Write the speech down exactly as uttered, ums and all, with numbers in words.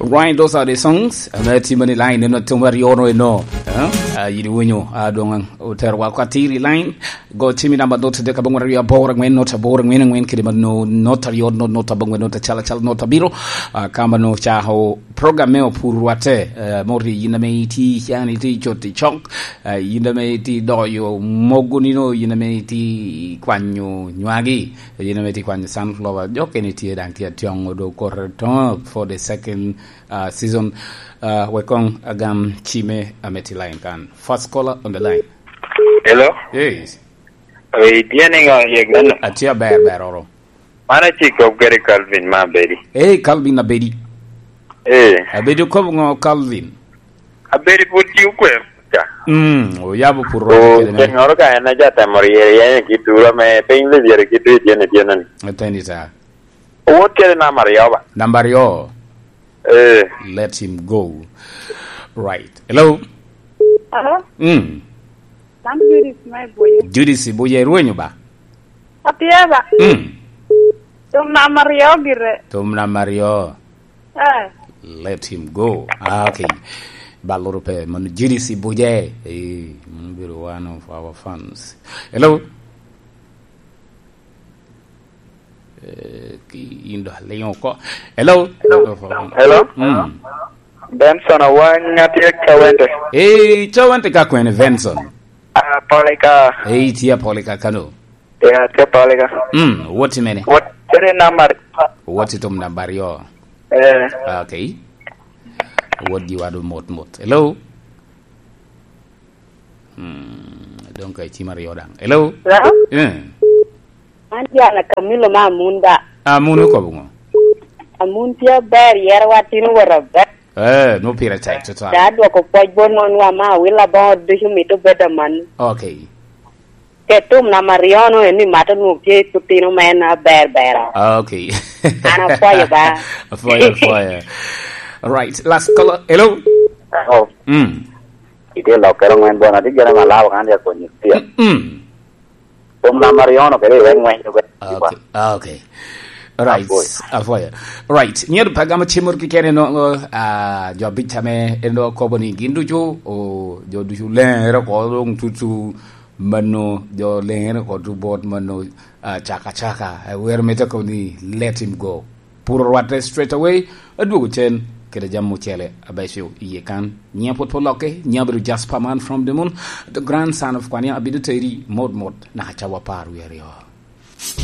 Right, those are the songs. Ame timo ni line eno timo aryo no eno. Eh? Ah, yidi winyo, ah, dong otero wa kwa tiri line. Go chimi namba dot de kabong aryo aboro ngwen not aboro ngwen ngwen kidi mano not aryo not not abong not chala chala not abiro. Ah, kama no cha ho program me opur wate. Eh, mori yina me iti yani iti chot i chok. Eh, yina me iti doyo mogo nino yina me iti kwanyo nywagi. Yina me iti kwanyo sunflower. Jok eni tye dang tye atyong odo kore to for the second uh, season. Uh, wek kong agam cime ame tye line kan. First caller on the line. Hello? Yes. Oi, tye niŋo yek neno? Atye aber ber oro. Man acik kop kede Calvin ma abedi. Hey, Calvin abedi. Eh. Abedi okobo ŋo Calvin? Abedi pwod tye okwe ca. Mm, oyabo pur rwate kede me. Kengoro ka en aja temo ryere yene ki duro me piny le ryere ki duro tye ne tye nani. Ateni ta. Owot kede namba aryo ba? Namba aryo. Eh. Let him go. Right. Hello? Hello? Mm. Sam Judith me Buye. Judith Buye, irwenyo ba? Atye ba? Mm. Tum namba aryo gire. Tum namba aryo. Eh. Let him go. Ah, okay. Baloro pe man Judith Buye. Eh, man obedo one of our fans. Hello? Eh, ki in do aliŋo oko. Hello? Hello? Mm. Benson Awany, atye ka wente. Eh, ca wente ka kwene, Benson? Ah, Polika. Eh, itye Polika kano? Ya, atye Polika. Mm, wot i mene? Wot, ere namba aryo. Wot i tom namba aryo. Eh. Ah, okay. Wot gi wadu mot mot. Hello? Hmm, dong ka icim aryo daŋ. Hello? Hello? Eh. Man Jana Camilo ma Amun da. Amun okobo ŋo? Amun tye aber, yero watino wot aber. Eh, no pire tek tutwal. Da dwoko pwoc bot mon wa ma awila boŋo ducu mito bedo man. Okay. Ke tum namba aryo no en ni mato nwoŋo tye tutino ma en aber ber. Okay. An apwoyo ba. Apwoyo, apwoyo. Right, last caller. Hello? Oh. Mm. Itye lok kero ŋwen bona, tye gene malabo kan ya konyo tia. Mm. Tum namba aryo no kede iwek ŋwen. Okay. Ah, okay. Right. Apwoyo. Right. Nyero pa gamo cimor kikene no, ah, jo bica me eno kobo ni gin ducu, o, jo ducu lere ko dong tutu mano, jo lere ko tu bot mano, ah, caka caka. Eh, wer me tako ni let him go. Puro rwatte straight away, adwogo cen, kede jam ocele, abeco iye kan. Nyia pwod pwod lokke, nyia bedo Jasper man from the moon. The grandson of Kwania abido teri, mot mot, naka cawa par wi aryo.